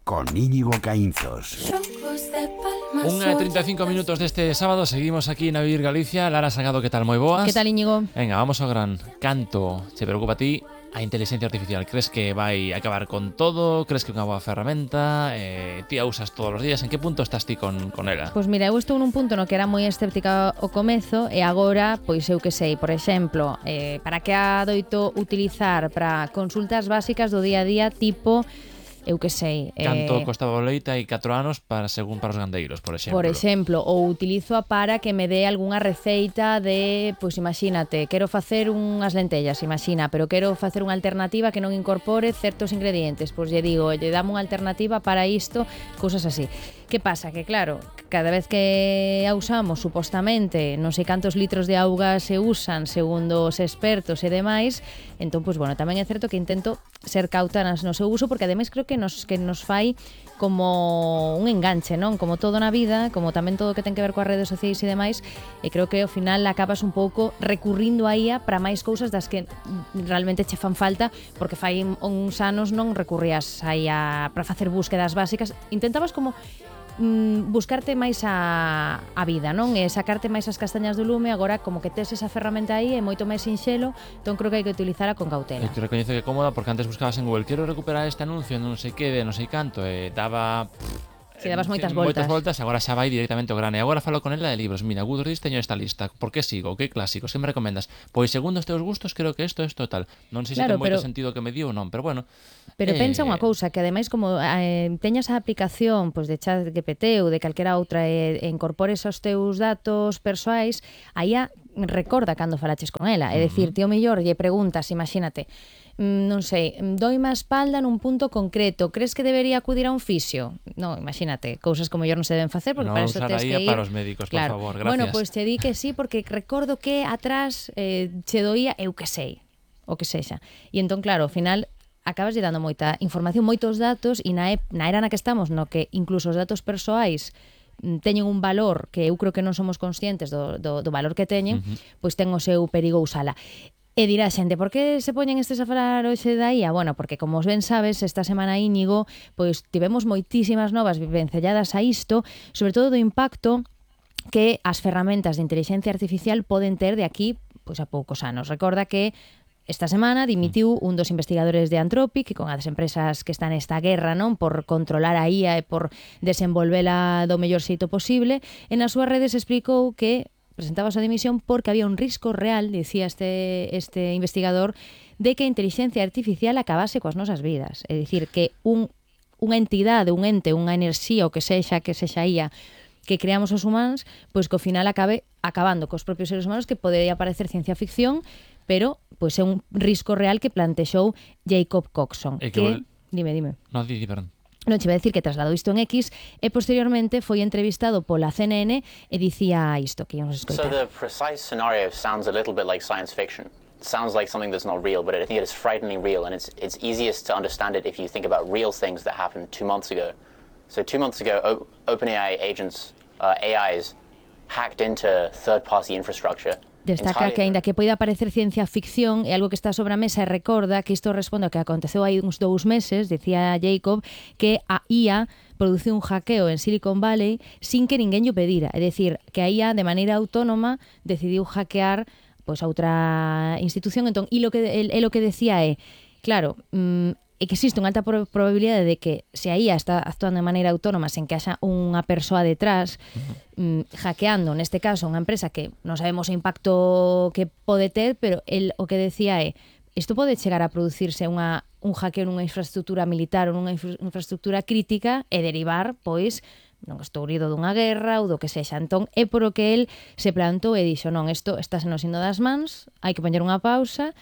con Íñigo Caínzos. 1:35 minutos deste sábado. Seguimos aquí na Vivir Galicia. Lara Sagado, que tal? Moi boas. Que tal, Íñigo? Venga, vamos ao gran canto. Se preocupa a ti a inteligencia artificial? Crees que vai acabar con todo? Crees que é unha boa ferramenta? Ti a usas todos os días? En que punto estás ti con ela? Pois mira, eu estou nun punto no que era moi escéptica ao comezo e agora, pois eu que sei, por exemplo, para que a doito utilizar para consultas básicas do día a día, tipo, eu que sei... Canto costaba o leite hai 4 anos según para os gandeiros, por exemplo. Por exemplo, ou utilizo a para que me dé algunha receita de, pois imagínate, quero facer unhas lentellas, imagina, pero quero facer unha alternativa que non incorpore certos ingredientes, pois lle digo, lle dame unha alternativa para isto, cousas así. Que pasa? Que claro, cada vez que a usamos, supostamente, non sei cantos litros de auga se usan segundo os expertos e demais, entón, pois bueno, tamén é certo que intento ser cauta no seu uso, porque ademais creo que nos fai como un enganche, non? Como todo na vida, como tamén todo que ten que ver coas redes sociais e demais, e creo que ao final acabas un pouco recurrindo a IA para máis cousas das que realmente che fan falta, porque fai uns anos non recurrías a IA para facer búsquedas básicas, intentabas como buscarte máis a vida, non? E sacarte máis as castañas do lume. Agora como que tes esa ferramenta aí é moito máis sinxelo, entón creo que hai que utilizala con cautela. Eu te recoñezo que é cómoda, porque antes buscabas en Google, quero recuperar este anuncio, non sei que, de non sei canto, e daba... Si dabas moitas voltas. Agora xa vai directamente ao grano. E agora falo con ela de libros. Mira, Goodreads teño esta lista. Por que sigo? Que clásicos? Que me recomendas? Pois segundo os teus gustos, creo que isto tal. Non sei se ten moito sentido que me dio ou non, pero bueno. Pero pensa unha cousa, que ademais como teñas a aplicación pois de ChatGPT ou de calquera outra e incorpores os teus datos persoais, aí recorda cando falaches con ela. É dicir, ti o mellor lle preguntas, imagínate, non sei, doime a espalda nun punto concreto, crees que debería acudir a un fisio? Non, imagínate, cousas como mellor non se deben facer, porque para eso tes que ir... para os médicos, claro. Por favor, gracias. Bueno, pois te di que sí, porque recordo que atrás che doía, eu que sei, o que sexa. E entón, claro, ao final acabas lle dando moita información, moitos datos, e na era na que estamos, no que incluso os datos persoais teñen un valor que eu creo que non somos conscientes do valor que teñen, pois ten o seu perigo usala. E dirá xente, por que se poñen estes a falar hoxe da IA? Bueno, porque como ben sabes, esta semana, Íñigo, pois tivemos moitísimas novas vencelladas a isto, sobre todo do impacto que as ferramentas de inteligencia artificial poden ter de aquí pois a poucos anos. Recorda que esta semana dimitiu un dos investigadores de Anthropic, que con as empresas que están nesta guerra, non, por controlar a IA e por desenvolvela do mellor xeito posible, e nas súas redes explicou que presentaba a súa dimisión porque había un risco real, dicía este investigador, de que a inteligencia artificial acabase coas nosas vidas. É dicir, que unha entidade, un ente, unha enerxía, o que sexa IA, que creamos os humanos, pois que ao final acabe acabando cos propios seres humanos, que podería parecer ciencia ficción, pero pois é un risco real que plantexou Jacob Coxon. Dime. No, perdón. Non che vai dicir que trasladou isto en X e posteriormente foi entrevistado pola CNN e dicía isto que íamos escoitar. So the precise scenario sounds a little bit like science fiction. It sounds like something that's not real, but I think it is frighteningly real, and it's easiest to understand it if you think about real things that happened 2 months ago. So 2 months ago, OpenAI agents, AIs, hacked into third-party infrastructure. Destaca que, aínda que poida parecer ciencia ficción, é algo que está sobre a mesa, e recorda que isto responde ao que aconteceu hai uns 2 meses, dicía Jacob, que a IA produciu un hackeo en Silicon Valley sin que ninguén lle pedira. É dicir, que a IA de maneira autónoma decidiu hackear pois a outra institución. Entón, e lo que decía é, claro, é que existe unha alta probabilidade de que se a IA está actuando de maneira autónoma sen que haxa unha persoa detrás hackeando, neste caso, unha empresa que non sabemos o impacto que pode ter, pero o que decía é, isto pode chegar a producirse un hackeo nunha infraestructura militar ou nunha infraestructura crítica e derivar, pois, non estou rido dunha guerra ou do que sexa. Entón, é por o que el se plantou e dixo, non, isto está sendo das mans, hai que poñer unha pausa.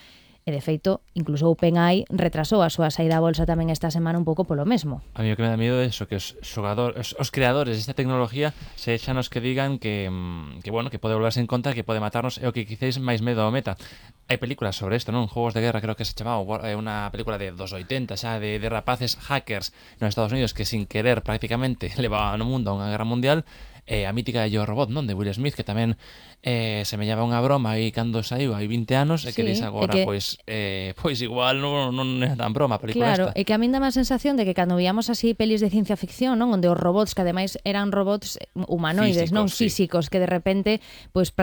E, de feito, incluso OpenAI retrasou a súa saída a bolsa tamén esta semana un pouco polo mesmo. A mí o que me dá miedo é eso, que os creadores desta tecnología sexan os que digan que pode volverse en contra, que pode matarnos, é o que quizáis máis medo ao meta. Hai películas sobre isto, non? Juegos de guerra, creo que se chamaba, unha película de 80 xa, de rapaces hackers nos Estados Unidos que sin querer prácticamente levaban o mundo a unha guerra mundial. a mítica de Yo Robot, non? De Will Smith, que tamén semellaba unha broma aí cando saiu hai 20 anos e que Sí, dis agora, e que- pois igual non é tan broma a película Claro, esta. e que a min dá a sensación de que cando víamos así pelis de ciencia ficción, non, onde os robots, que ademais eran robots humanoides, non Físicos, sí. físicos, que de repente pois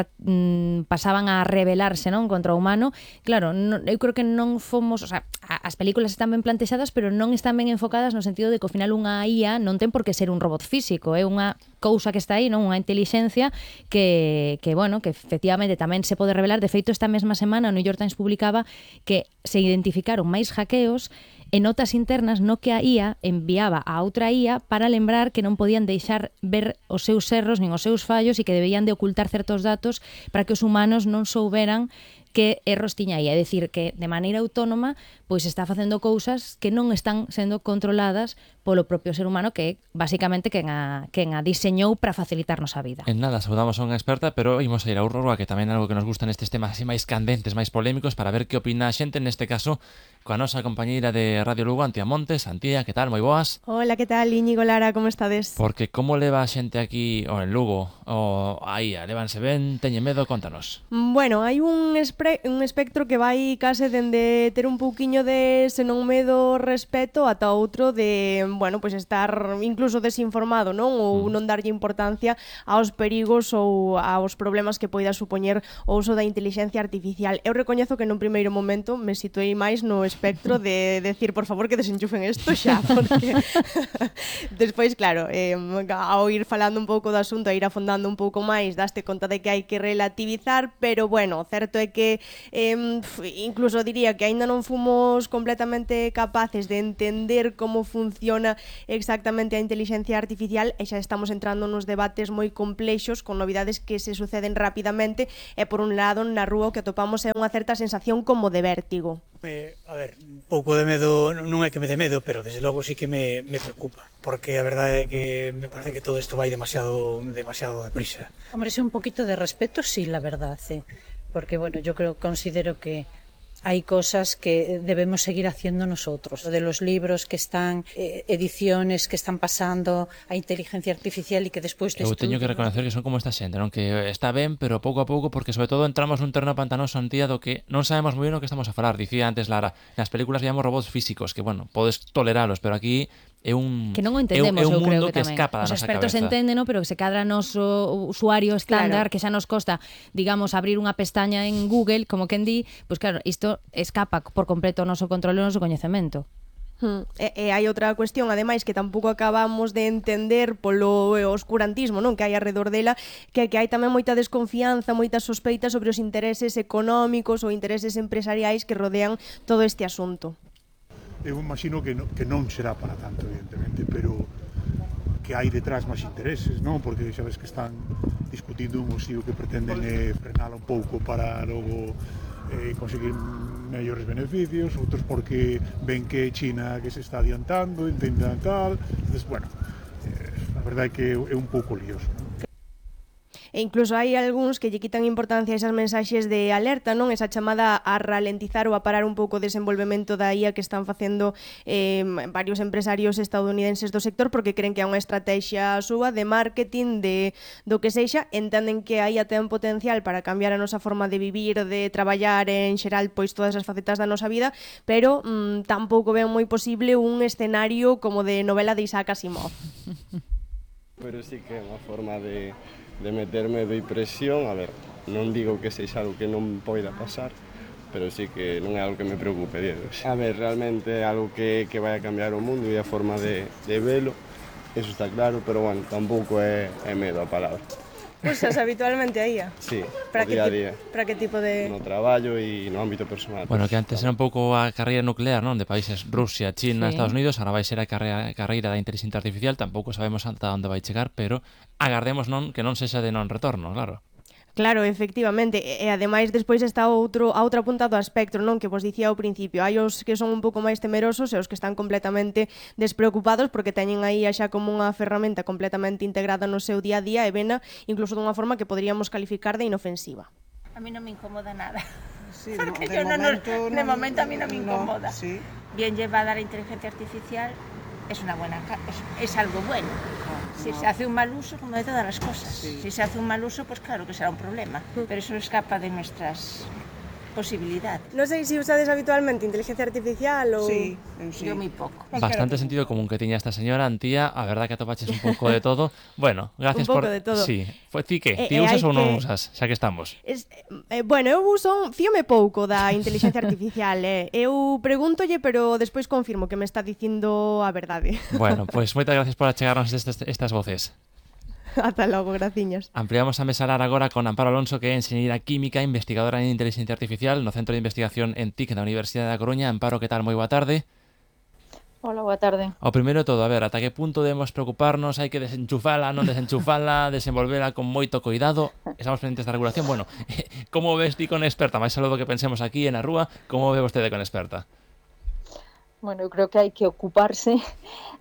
pasaban a rebelarse, non, contra o humano. Claro, eu creo que non fomos, o sea, as películas están ben plantexadas, pero non están ben enfocadas no sentido de que ao final unha IA non ten por que ser un robot físico, é unha cousa que está aí, non, unha intelixencia que bueno, que efectivamente tamén se pode revelar. De feito, esta mesma semana o New York Times publicaba que se identificaron máis hackeos e notas internas no que a IA enviaba a outra IA para lembrar que non podían deixar ver os seus erros nin os seus fallos e que debían de ocultar certos datos para que os humanos non souberan que erros tiña aí, é dicir, que de maneira autónoma pois está facendo cousas que non están sendo controladas polo propio ser humano, que é basicamente quen a diseñou para facilitarnos a vida. En nada, saudamos a unha experta, pero imos a ir a Aurora, que tamén é algo que nos gusta nestes temas así máis candentes, máis polémicos, para ver que opina a xente, neste caso, coa nosa compañeira de Radio Lugo, Antía Montes. Antía, que tal? Moi boas? Hola, que tal? Íñigo, Lara, como estades? Porque como leva a xente aquí, ou en Lugo, ou aí, levanse ben, teñe medo, contanos. Bueno, hai un espectro que vai case dende ter un pouquiño de senón medo, respeto, ata outro de, bueno, pois estar incluso desinformado, non? Ou non darlle importancia aos perigos ou aos problemas que poida supoñer o uso da inteligencia artificial. Eu recoñezo que nun primeiro momento me situei máis no espectro de decir, por favor, que desenchufen isto xa, porque despois, claro, ao ir falando un pouco do asunto, a ir afondando un pouco máis, daste conta de que hai que relativizar, pero bueno, certo é que incluso diría que aínda non fomos completamente capaces de entender como funciona exactamente a inteligencia artificial e xa estamos entrando nos debates moi complexos con novidades que se suceden rapidamente e por un lado na rúa o que atopamos é unha certa sensación como de vértigo. A ver, un pouco de medo, non é que me dé medo, pero desde logo sí que me preocupa, porque a verdade é que me parece que todo isto vai demasiado deprisa. Hombre, sí, un poquito de respeto, sí, la verdad, sí. Porque, bueno, yo considero que hay cosas que debemos seguir haciendo nosotros. Lo de los libros que están, ediciones que están pasando a inteligencia artificial y que despois Eu teño que reconocer que son como esta xente, non? Que está ben, pero pouco a pouco, porque sobre todo entramos nun terreno pantanoso, Antía, do que non sabemos moi ben o que estamos a falar. Dicía antes Lara, nas películas veíamos robots físicos, que, bueno, podes toleralos, pero aquí é un que non o entendemos, é un eu creo mundo que tamén. escapa da Os nosa expertos cabeza. entenden, pero que se cadra noso usuario estándar, que xa nos costa, digamos, abrir unha pestaña en Google, como quen di, pois claro, isto escapa por completo o noso control e o noso coñecemento. E hai outra cuestión, ademais, que tampouco acabamos de entender polo oscurantismo, non, que hai alrededor dela, que hai tamén moita desconfianza, moita sospeita sobre os intereses económicos ou intereses empresariais que rodean todo este asunto. Eu imagino que non será para tanto, evidentemente, pero que hai detrás máis intereses, non? Porque xa ves que están discutindo un o que pretenden frenala un pouco para logo conseguir mellores beneficios, outros porque ven que China que se está adiantando, intentan tal, entonces, bueno, a verdade é que é un pouco lioso, non? E incluso hai algúns que lle quitan importancia a esas mensaxes de alerta, non? Esa chamada a ralentizar ou a parar un pouco o desenvolvemento da IA que están facendo varios empresarios estadounidenses do sector porque creen que é unha estrategia súa de marketing, do que sexa, entenden que a IA ten potencial para cambiar a nosa forma de vivir, de traballar en xeral, pois todas as facetas da nosa vida, pero tampouco ven moi posible un escenario como de novela de Isaac Asimov. Pero sí que é unha forma de meter medo e presión. A ver, non digo que sexa algo que non poida pasar, pero sí que non é algo que me preocupe, Diego. A ver, realmente é algo que vai a cambiar o mundo e a forma de velo, eso está claro, pero bueno, tampouco é medo a palabra. Usas habitualmente a IA? Sí, para día a día. Para que tipo de... No traballo e no ámbito personal. Bueno, que antes era un pouco a carreira nuclear, non? De países Rusia, China, Sí. Estados Unidos, agora vai ser a carreira da inteligencia artificial, tampouco sabemos ata onde vai chegar, pero agardemos non que non sexa de non retorno, claro. Claro, efectivamente, e ademais despois está a outra punta do espectro, non, que vos dicía ao principio. Hai os que son un pouco máis temerosos e os que están completamente despreocupados porque teñen aí xa como unha ferramenta completamente integrada no seu día a día e vena incluso dunha forma que poderíamos calificar de inofensiva. A mí non me incomoda nada. Sí, Porque de yo de momento a mí no me no, incomoda. sí. Bien llevada la inteligencia artificial es una buena, es algo bueno. Si se hace un mal uso, como de todas las cosas. Si se hace un mal uso, pues claro que será un problema. Pero eso escapa de nuestras posibilidades. Non sei se usades habitualmente inteligencia artificial ou... Sí, yo muy poco. Bastante sentido común que tiña esta señora, Antía. A verdad que atopaches un pouco de todo. Bueno, gracias Un pouco por... de todo. Sí. Ti que? Ti usas ou non usas? Xa que estamos. Bueno, eu uso, fíome pouco da inteligencia artificial, Eu pregúntolle, pero despois confirmo que me está dicindo a verdade. Bueno, pois moitas gracias por achegarnos estas voces. Ata logo, graciñas. Ampliamos a mesalar agora con Amparo Alonso, que é enxeñeira química, investigadora en inteligencia artificial no Centro de Investigación en TIC da Universidade da Coruña. Amparo, que tal? Moi boa tarde. Hola, boa tarde. O primeiro de todo, a ver, ata que punto debemos preocuparnos? Hai que desenchufala, non desenchufala, desenvolvela con moito cuidado? Estamos pendientes da regulación. Bueno, como ves ti con experta? Mais algo do que pensemos aquí na rúa, como ve vostede con experta? Bueno, eu creo que hai que ocuparse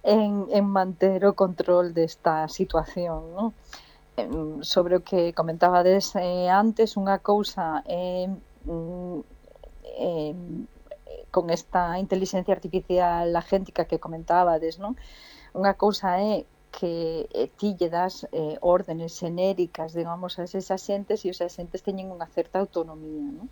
en manter o control desta situación, ¿no? Sobre o que comentabades antes, unha cousa con esta inteligencia artificial agéntica que comentabades, ¿no? Unha cousa é que ti lle das órdenes xenéricas, digamos, a eses axentes e os axentes teñen unha certa autonomía, ¿no?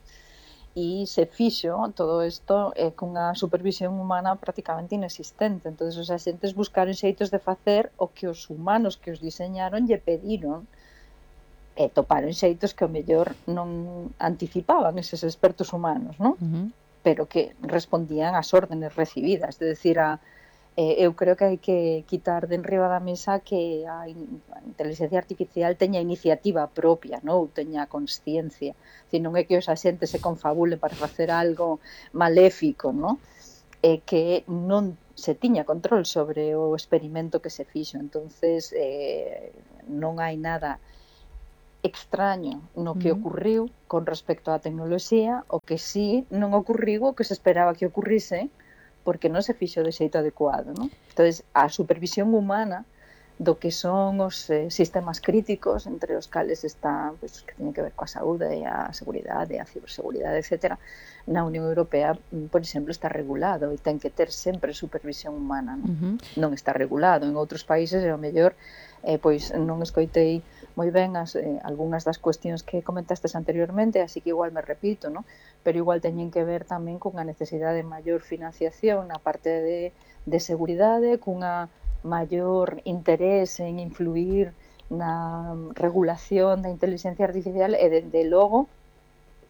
E se fixo todo isto cunha supervisión humana prácticamente inexistente. Entón, os axentes buscaron xeitos de facer o que os humanos que os diseñaron lle pediron e toparon xeitos que o mellor non anticipaban eses expertos humanos, non? Pero que respondían ás órdenes recibidas. É dicir, eu creo que hai que quitar de enriba da mesa que a inteligencia artificial teña iniciativa propia, non? Ou teña consciencia. Non é que os axentes se confabulen para facer algo maléfico, non? É que non se tiña control sobre o experimento que se fixo. Entonces, non hai nada extraño no que ocurriu con respecto á tecnoloxía, o que sí non ocurriu o que se esperaba que ocurrise, porque non se fixo de xeito adecuado, non? Entón, a supervisión humana do que son os sistemas críticos, entre os cales está, pues, que teñen que ver coa saúde e a seguridade, a ciberseguridade, etc. Na Unión Europea, por exemplo, está regulado e ten que ter sempre supervisión humana, non? Non está regulado. En outros países, e ao mellor, pois non escoitei moi ben algunhas das cuestións que comentastes anteriormente, así que igual me repito, non? Pero igual teñen que ver tamén cunha necesidade de maior financiación na parte de seguridade, cunha maior interés en influir na regulación da inteligencia artificial e, dende logo,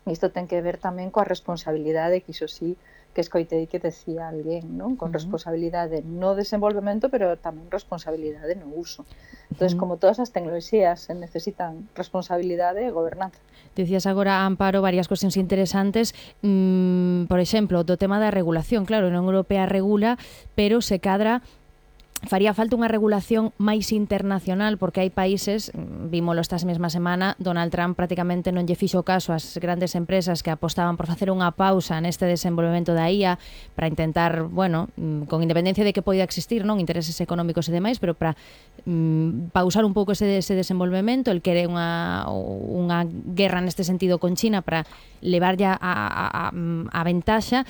isto ten que ver tamén coa responsabilidade, que iso sí que escoitei que decía alguén, non? Con responsabilidade no desenvolvemento, pero tamén responsabilidade no uso. Entón, como todas as tecnoloxías necesitan responsabilidade e gobernanza. Dicías agora, Amparo, varias cuestións interesantes. Por exemplo, do tema da regulación. Claro, a Unión Europea regula, pero se cadra faría falta unha regulación máis internacional, porque hai países, vímolo esta mesma semana, Donald Trump prácticamente non lle fixo caso ás grandes empresas que apostaban por facer unha pausa neste desenvolvemento da IA para intentar, bueno, con independencia de que poida existir, non, intereses económicos e demais, pero para pausar un pouco ese desenvolvemento. El quere unha guerra neste sentido con China para levar ya a ventaxa.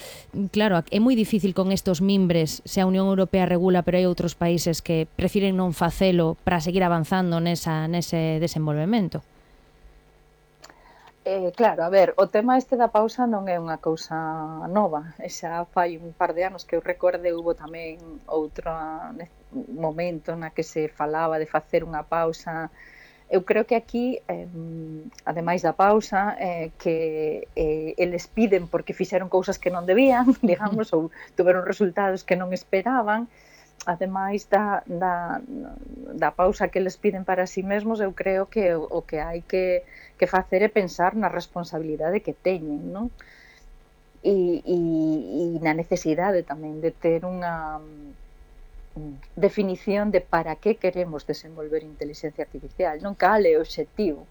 Claro, é moi difícil con estos mimbres, se a Unión Europea regula, pero hai outros países que prefiren non facelo para seguir avanzando nese desenvolvemento. Claro, a ver, o tema este da pausa non é unha cousa nova. Xa fai un par de anos que eu recorde, hubo tamén outro momento na que se falaba de facer unha pausa. Eu creo que aquí, ademais da pausa, que eles piden porque fixeron cousas que non debían, digamos, ou tuveron resultados que non esperaban. Ademais da pausa que eles piden para si mesmos, eu creo que o que hai que facer é pensar na responsabilidade que teñen, non? E na necesidade tamén de ter unha definición de para que queremos desenvolver inteligencia artificial, non? Cal é o obxectivo?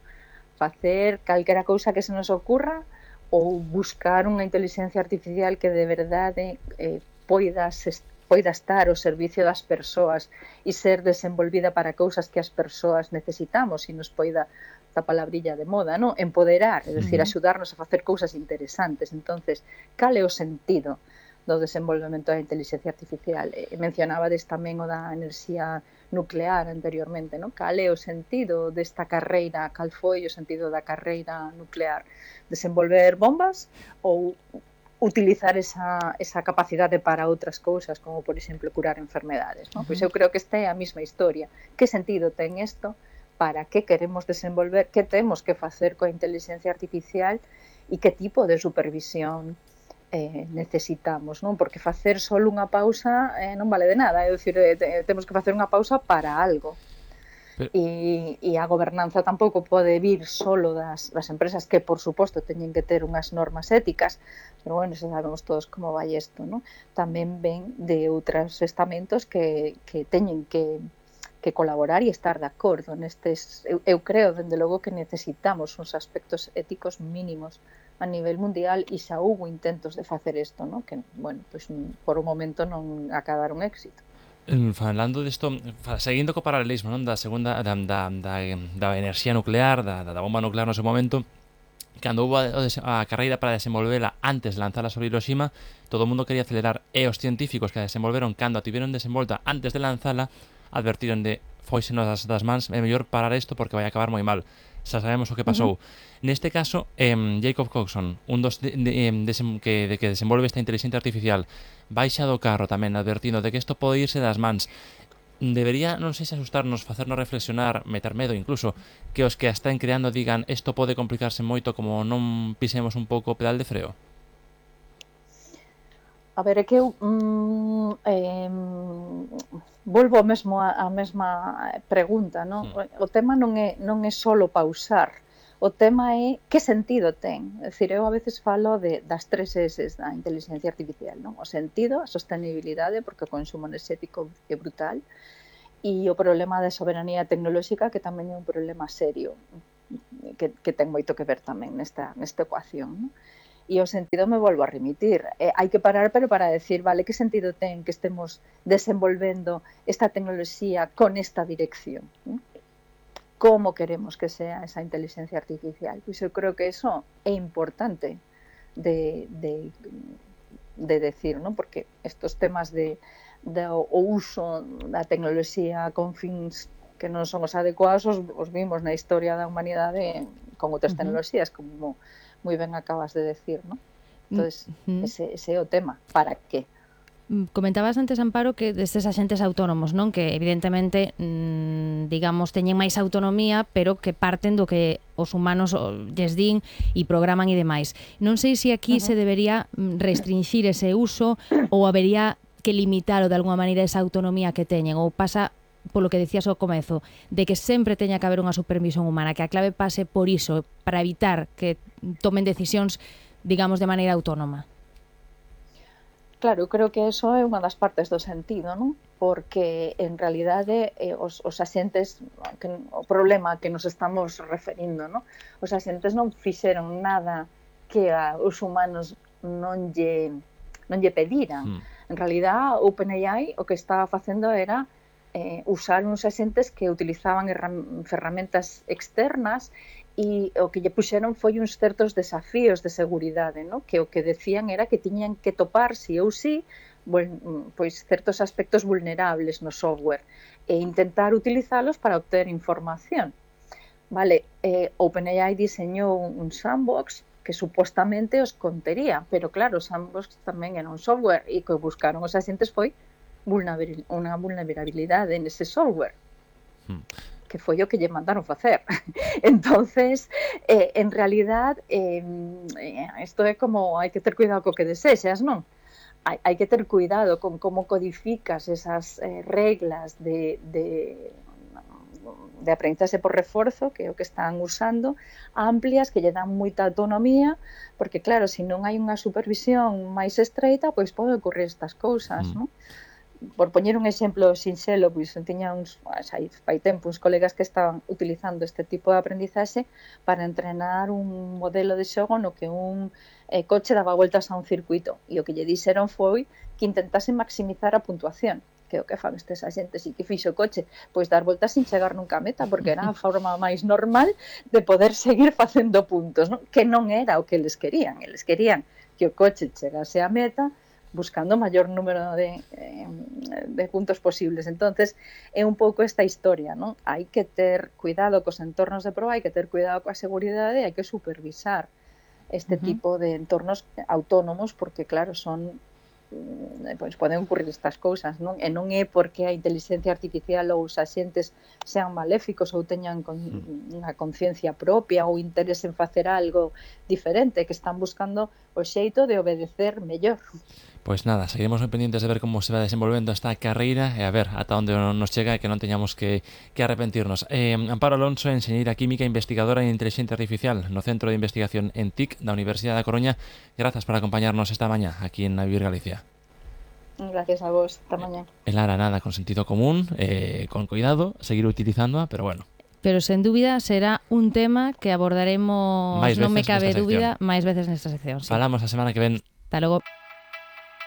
Facer calquera cousa que se nos ocurra ou buscar unha inteligencia artificial que de verdade poida estar ao servicio das persoas e ser desenvolvida para cousas que as persoas necesitamos e nos poida, esta palabrilla de moda, non? Empoderar, é dicir, axudarnos a facer cousas interesantes. Entonces, cal é o sentido do desenvolvemento da inteligencia artificial. Mencionabades tamén o da enerxía nuclear anteriormente, non? Cal é o sentido desta carreira, cal foi o sentido da carreira nuclear? Desenvolver bombas ou utilizar esa capacidade para outras cousas, como por exemplo curar enfermedades, non? Pois eu creo que esta é a mesma historia. Que sentido ten isto? Para que queremos desenvolver? Que temos que facer coa inteligencia artificial? E que tipo de supervisión necesitamos, non? Porque facer só unha pausa non vale de nada, é dicir, temos que facer unha pausa para algo. E a gobernanza tampouco pode vir solo das empresas, que por suposto teñen que ter unhas normas éticas, pero bueno, sabemos todos como vai isto, non? Tamén ven de outros estamentos que teñen que colaborar e estar de acordo nestes. Eu creo, dende logo, que necesitamos uns aspectos éticos mínimos a nivel mundial e xa houve intentos de facer isto, non? Que, bueno, pues, por un momento non acabaron éxito. Falando disto, seguindo co paralelismo, non, da segunda da enerxía nuclear, da bomba nuclear no seu momento, cando houve a carreira para desenvolvela antes de lanzala sobre Hiroshima, todo o mundo quería acelerar, e os científicos que a desenvolveron cando a tiveron desenvolta antes de lanzala advertiron de foisenos das mans, é mellor parar isto porque vai acabar moi mal. Xa sabemos o que pasou. Neste caso, Jacob Coxon, un dos que desenvolve esta inteligencia artificial, baixa do carro tamén advertindo de que isto pode irse das mans. Debería, non sei se asustarnos, facernos reflexionar, meter medo incluso, que os que a están creando digan isto pode complicarse moito como non pisemos un pouco o pedal de freo? A ver, é que eu volvo mesmo a mesma pregunta, non? O tema non é solo pausar, o tema é que sentido ten. É dicir, eu a veces falo das 3 S da inteligencia artificial, non? O sentido, a sostenibilidade, porque o consumo enerxético é brutal, e o problema da soberanía tecnolóxica, que tamén é un problema serio, que ten moito que ver tamén nesta ecuación, non? E o sentido me volvo a remitir. Hai que parar, pero para decir, vale, que sentido ten que estemos desenvolvendo esta tecnoloxía con esta dirección? ¿No? Como queremos que sea esa inteligencia artificial? Pois eu creo que eso é importante de decir, ¿no? Porque estos temas do uso da tecnoloxía con fins que non son os adecuados os vimos na historia da humanidade con outras tecnoloxías, como moi ben acabas de decir, ¿no? Entonces, ese é o tema. Para qué? Comentabas antes, Amparo, que destes axentes autónomos, non? Que evidentemente, digamos, teñen máis autonomía, pero que parten do que os humanos lles din e programan e demais. Non sei se aquí se debería restringir ese uso ou habería que limitalo de alguma maneira esa autonomía que teñen, ou pasa polo que decías ao comezo, de que sempre teña que haber unha supervisión humana, que a clave pase por iso, para evitar que tomen decisións, digamos, de maneira autónoma. Claro, eu creo que eso é unha das partes do sentido, non? Porque, en realidade, os axentes, o problema que nos estamos referindo, non? Os axentes non fixeron nada que os humanos non lle pediran. En realidad, OpenAI o que estaba facendo era usar uns axentes que utilizaban ferramentas externas e o que lle puxeron foi uns certos desafíos de seguridade, ¿no? Que o que decían era que tiñan que topar si ou si pois certos aspectos vulnerables no software e intentar utilizalos para obter información. Vale, OpenAI diseñou un sandbox que supostamente os contería, pero claro, o sandbox tamén era un software e que buscaron os axentes foi unha vulnerabilidade nese software, que foi o que lle mandaron facer. Entonces, en realidad, isto é como hai que ter cuidado co que desexas, non? Hai que ter cuidado con como codificas esas reglas de aprendizaxe por reforzo, que é o que están usando, amplias, que lle dan moita autonomía, porque claro, se non hai unha supervisión máis estreita, pois pode ocurrir estas cousas, non? Por poñer un exemplo sinxelo, pois tiña fai tempo uns colegas que estaban utilizando este tipo de aprendizaxe para entrenar un modelo de xogo no que un coche daba voltas a un circuito, e o que lle dixeron foi que intentase maximizar a puntuación, que é o que fan estes axentes, e que fixo o coche, pois dar voltas sin chegar nunca a meta, porque era a forma máis normal de poder seguir facendo puntos, non? Que non era o que eles querían que o coche chegase a meta, buscando o maior número de puntos posibles. Entonces, é un pouco esta historia, non? Hai que ter cuidado cos entornos de proba, hai que ter cuidado coa seguridade, hai que supervisar este tipo de entornos autónomos, porque, claro, son pois poden ocurrir estas cousas, non? E non é porque a inteligencia artificial ou os axentes sean maléficos ou teñan unha conciencia propia ou interés en facer algo diferente, que están buscando o xeito de obedecer mellor. Pois nada, seguiremos moi pendientes de ver como se va desenvolvendo esta carreira e a ver ata onde nos chega e que non teñamos que arrepentirnos. Amparo Alonso, enxeñeira química e investigadora en inteligencia artificial no Centro de Investigación en TIC da Universidade da Coruña. Grazas por acompañarnos esta mañá aquí en Vivir Galicia. Gracias a vos, esta mañá. E Lara, nada, con sentido común, con cuidado, seguir utilizándoa, pero bueno. Pero sen dúbida será un tema que abordaremos, non me cabe dúbida, máis veces nesta sección. Sí. Falamos a semana que ven. Hasta logo.